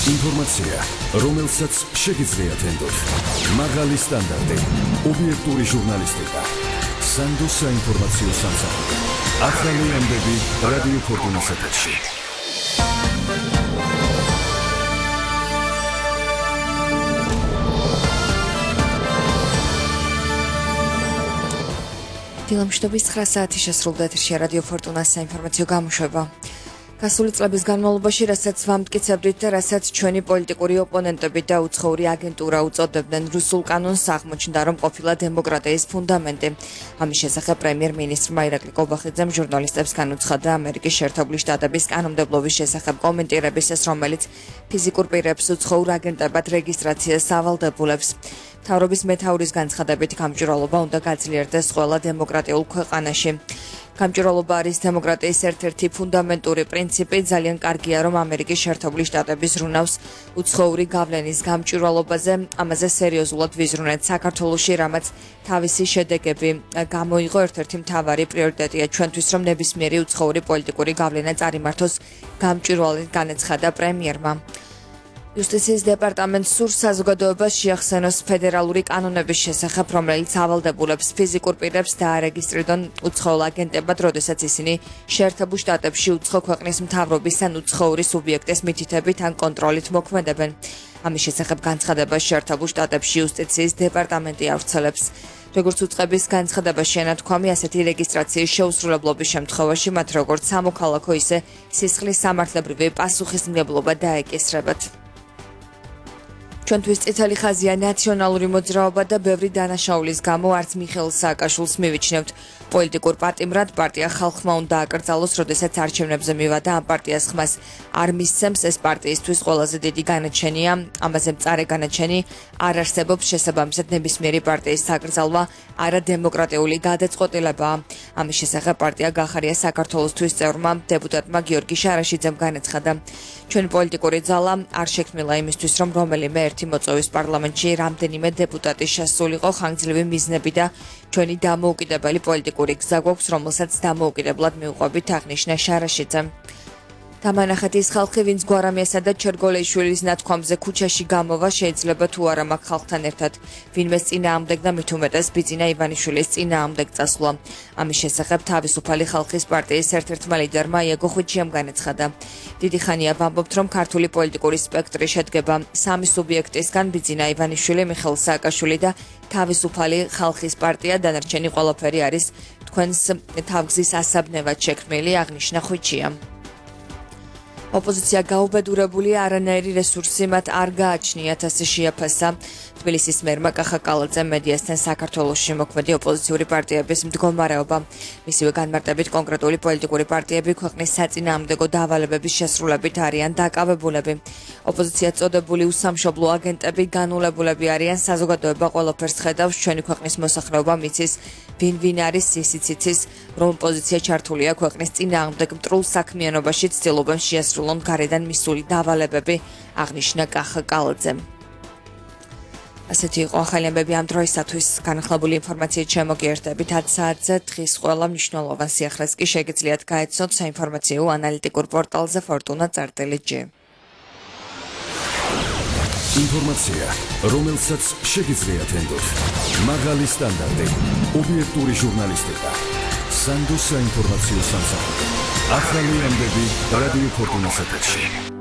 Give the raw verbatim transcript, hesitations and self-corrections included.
ინფორმაცია, რომელსაც შეგიძლიათ ენდოთ. მაღალი სტანდარტი, ობიექტური ჟურნალისტიკა. სანდო საინფორმაციო სამსახური. ახალი ამბები რადიო ფორტუნას ეთერში. დილამშვიდობის ცხრა საათი შესრულდა ეთერში რადიო ფორტუნას საინფორმაციო გამოშვება. გასული წლების განმავლობაში, რასაც ვამტკიცებდით და რასაც ჩვენი პოლიტიკური ოპონენტები და უცხოური აგენტურა უწოდებდნენ რუსულ კანონს, აღმოჩნდა, რომ ყოფილა დემოკრატიის ფუნდამენტი. ამის შესახებ პრემიერ-მინისტრმა ირაკლი კობახიძემ ჟურნალისტებს განუცხადა ამერიკის შეერთებული შტატების კანონმდებლობის შესახებ კომენტირებისას, რომელიც ფიზიკურ პირებს უცხოურ აგენტებად რეგისტრაციას ავალდებულებს. მთავრობის მეთაურის განცხადებით, გამჭვირვალობა უნდა გაძლიერდეს ყველა დემოკრატიულ ქვეყანაში. გამჭვირვალობა არის დემოკრატიის ერთ-ერთი ფუნდამენტური პრინციპი. ძალიან კარგია, რომ ამერიკის შეერთებული შტატები ზრუნავს უცხოური გავლენის გამჭვირვალობაზე. ამაზე სერიოზულად ვიზრუნეთ საქართველოში, რამაც თავისი შედეგები გამოიღო. ერთ-ერთი მთავარი პრიორიტეტია ჩვენთვის, რომ ნებისმიერი უცხოური პოლიტიკური გავლენა წარიმართოს გამჭვირვალედ, განაცხადა პრემიერმა. იუსტიციის დეპარტამენტს სურს საზოგადოებას შეახსენოს ფედერალური კანონების შესახებ, რომელიც ავალდებულებს ფიზიკურ პირებს დაარეგისტრირონ უცხოურ აგენტებად, როდესაც ისინი შეერთებულ შტატებში უცხო ქვეყნის მთავრობის ან უცხოური სუბიექტის მითითებით ან კონტროლით მოქმედებენ. ამის შესახებ განცხადებას შეერთებულ შტატებში იუსტიციის დეპარტამენტი ავრცელებს. როგორც უწყების განცხადებაში ენათქვამი, ასეთი რეგისტრაციის შეუსრულებლობის შემთხვევაში მათ როგორც სამოქალაქო, ისე სისხლის სამართლებრივი პასუხისმგებლობა დაეკისრებათ. ჩვენთვის წითელი ხაზია ნაციონალური მოძრაობა და ბევრი დანაშაულის გამო არც მიხეილ სააკაშვილს მივიჩნევთ პოლიტიკურ პატიმრად. პარტია ხალხმა უნდა აკრძალოს, როდესაც არჩევნებზე მივადა ამ პარტიას ხმას არ მისცემს. ეს პარტიისთვის ყველაზე დიდი განაჩენია. ამაზე მწარე განაჩენი არ არსებობს. შესაბამისად, ნებისმიერი პარტიის საკრძალვა არადემოკრატიული გადაწყვეტილებაა. ამის შესახებ პარტია გახარია საქართველოსთვის წევრმა დეპუტატმა გიორგი შარაშიძემ განაცხადა. ჩვენი პოლიტიკური ძალა არ შექმნილა იმისთვის, რომ რომელიმე ერთი მოწვევის პარლამენტში რამდენიმე დეპუტატი შესულიყო. ხანგრძლივი მიზნები და ჩვენი დამოუკიდებელი პოლიტიკური გზა გვაქვს, რომელსაც დამოუკიდებლად მივყვებით, აღნიშნა შარაშიძემ. დამანახეთ ის ხალხი, ვინც გვარამიასა და ჩერგოლეიშვილის ნათქვამზე ქუჩაში გამოვა, შეიძლება თუ არა მაგ ხალხთან ერთად ვინმეს წინააღმდეგ და მით უმეტეს ბიძინა ივანიშვილის წინააღმდეგ წასვლა. ამის შესახებ თავისუფალი ხალხის პარტიის ერთ-ერთმა ლიდერმა იაგო ხვიჩიამ განაცხადა. დიდი ხანია ვამბობთ, რომ ქართული პოლიტიკური სპექტრი შედგება სამი სუბიექტისგან: ბიძინა ივანიშვილი, მიხეილ სააკაშვილი და თავისუფალი ხალხის პარტია. დანარჩენი ყველაფერი არის თქვენს თავგზის ასაბნევად შექმნილი, აღნიშნა ხვიჩიამ. ოპოზიცია გაუბედურებულია, არანაირი რესურსი მათ არ გააჩნიათ, ასე შეაფასა თბილისის მერმა კახა კალაძემ მედიასთან საქართველოში მოქმედი ოპოზიციური პარტიების მდგომარეობა. მისივე განმარტებით, კონკრეტული პოლიტიკური პარტიები ქვეყნის საწინააღმდეგო დავალებების შესრულებით არიან დაკავებულები. ოპოზიცია წოდებული უსამშობლო აგენტები განულებულები არიან. საზოგადოება ყველაფერს ხედავს, ჩვენი ქვეყნის მოსახლეობა მიცის ვინ ვინ არის, ისიც იცის, რომ ოპოზიცია ჩართულია ქვეყნის წინააღმდეგ მტრულ საქმიანობაში, ცდილობენ შეასრულონ გარედან მისული დავალებები, აღნიშნა კახა კალაძემ. ასეთი იყო ახალი ამბები ამ დროისათვის. განახლებული ინფორმაციით შემოგიერთებით ათ საათზე. დღის ყველა მნიშვნელოვან სიახლეს კი შეგიძლიათ გაეცნოთ საინფორმაციო ანალიტიკურ პორტალზე ფორტუნა წერტილი ჯი. ინფორმაცია, რომელსაც შეგიძლიათ ენდოთ. მაღალი სტანდარტი, ობიექტური ჟურნალისტიკა. სანდო საინფორმაციო სამსახური. ახალი ამბები რადიო ფორტუნას ეთერში.